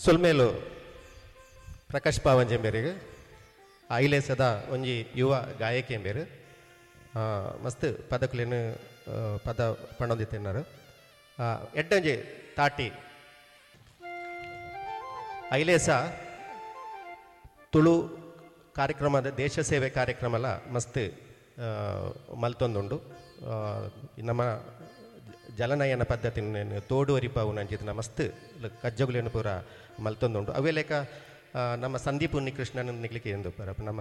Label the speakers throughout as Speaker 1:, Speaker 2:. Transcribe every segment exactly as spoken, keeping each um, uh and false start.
Speaker 1: ಸೊಲ್ಮೇಲು ಪ್ರಕಾಶ್ ಪಾವಂಜೆಂಬೇರಿಗೆ ಐಲೇಸದ ಒಂಜಿ ಯುವ ಗಾಯಕಿ ಎಂಬೇರು ಮಸ್ತ್ ಪದಕುಲೇನು ಪದ ಪಣೊಂದಿತ್ತಿನಾರು ಎಡ್ಡೊಂಜಿ ತಾಟಿ ಐಲೇಸ ತುಳು ಕಾರ್ಯಕ್ರಮದ ದೇಶ ಸೇವೆ ಕಾರ್ಯಕ್ರಮಲ ಮಸ್ತ್ ಮಲ್ತೊಂದುಂಡು. ನಮ್ಮ ಜಲನಯನ ಪದ್ಧತಿ ತೋಡು ಅರಿಪಾವು ನಂಜಿನ ಮಸ್ತ್ ಕಜ್ಜಗುಲೇನು ಪೂರ ಮಲ್ತೊಂದುಂಡು. ಅವೇ ಲೇಕ ನಮ್ಮ ಸಂದೀಪ್ ಉನ್ನಿಕೃಷ್ಣನ್ ನಿಗ್ಲಿಕ್ಕೆ ಎಂದು ನಮ್ಮ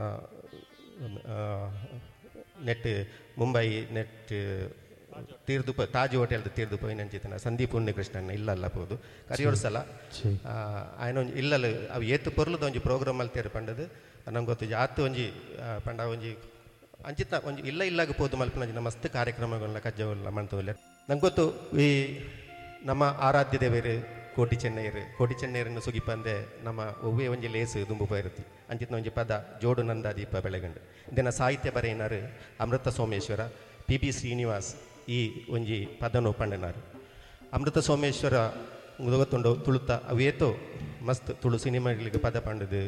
Speaker 1: ನೆಟ್ ಮುಂಬೈ ನೆಟ್ ತೀರ್ದು ತಾಜ್ ಹೋಟೆಲ್ದು ತೀರ್ದು ಪೋಯಿನಂಚಿತನ ಸಂದೀಪ್ ಉನ್ನಿಕೃಷ್ಣನ್ ಇಲ್ಲಲ್ಲ ಪೋದು ಕರಿಯೋಡು ಸಲ ಆಯನ ಒಂಜಿ ಇಲ್ಲಲ್ಲ ಅವು ಏತು ಪೊರ್ಲುದ ಒಂಜಿ ಪ್ರೋಗ್ರಾಮ್ ಮಲ್ತೇರು ಪಂಡದು ನಂಗೆ ಗೊತ್ತು. ಆತು ಒಂಜಿ ಪಂಡ ಒಂಜಿ ಅಂಚಿತ ಒಂಜಿ ಇಲ್ಲ ಇಲ್ಲಾಗ ಪೋದು ಮಲ್ಪನ ಮಸ್ತ್ ಕಾರ್ಯಕ್ರಮಗಳನ್ನ ಕಜ್ಜಗಳನ್ನ ಮಾಡ್ತವಿಲ್ಲ. ನಂಗೆ ಗೊತ್ತು ಈ ನಮ್ಮ ಆರಾಧ್ಯ ದೇವರು ಕೋಟಿ ಚೆನ್ನೈರು ಕೋಟಿ ಚೆನ್ನೈರನ್ನು ಸುಗಿಪಂದೆ ನಮ್ಮ ಒವ್ವೇ ಒಂಜಿ ಲೇಸು ದುಂಬು ಪೋಯಿರುತ್ತಿ ಅಂಚಿತ್ನ ಒಂಜಿ ಪದ ಜೋಡು ನಂದ ದೀಪ ಬೆಳಗಂಡು ಇದನ್ನು ಸಾಹಿತ್ಯ ಬರೆಯಿನಾರು ಅಮೃತ ಸೋಮೇಶ್ವರ ಪಿ ಬಿ ಶ್ರೀನಿವಾಸ್ ಈ ಒಂಜಿ ಪದನು ಪಂಡನಾರು. ಅಮೃತ ಸೋಮೇಶ್ವರ ಗೊತ್ತುಂಡು ತುಳುತ ಅವೇತೋ ಮಸ್ತ್ ತುಳು ಸಿನಿಮಾಗಳಿಗೆ ಪದ ಪಂಡದು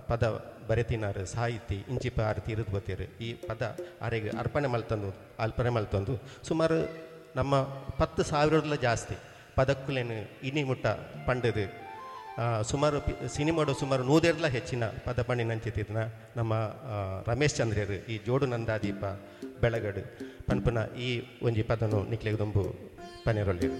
Speaker 1: ಪದ ಬರೆತಿನಾರು ಸಾಹಿತಿ ಇಂಚಿಪ ಆರತಿ ಇರುದು ಗೊತ್ತೀರು. ಈ ಪದ ಆರೆಗೆ ಅರ್ಪಣೆ ಮಲ್ತಂದು ಅರ್ಪಣೆ ಮಲ್ತಂದು ಸುಮಾರು ನಮ್ಮ ಪತ್ತು ಸಾವಿರದಲ್ಲ ಜಾಸ್ತಿ ಪದಕ್ಕುಲೇನು ಇನಿ ಮುಟ್ಟ ಪಂಡದು ಸುಮಾರು ಸಿನಿಮಾಡು ಸುಮಾರು ನೂದೆರ್ಲ ಹೆಚ್ಚಿನ ಪದ ಪಂಡಿನಂಚಿತ್ತಿನ ನಮ್ಮ ರಮೇಶ್ ಚಂದ್ರರು ಈ ಜೋಡು ನಂದಾದೀಪ ಬೆಳಗಡು ಪನ್ಪುನ ಈ ಒಂಜಿ ಪದನು ನಿಕ್ಲೆಗ್ ದುಂಬು ಪನೆರೊಲ್ಲೆರ್.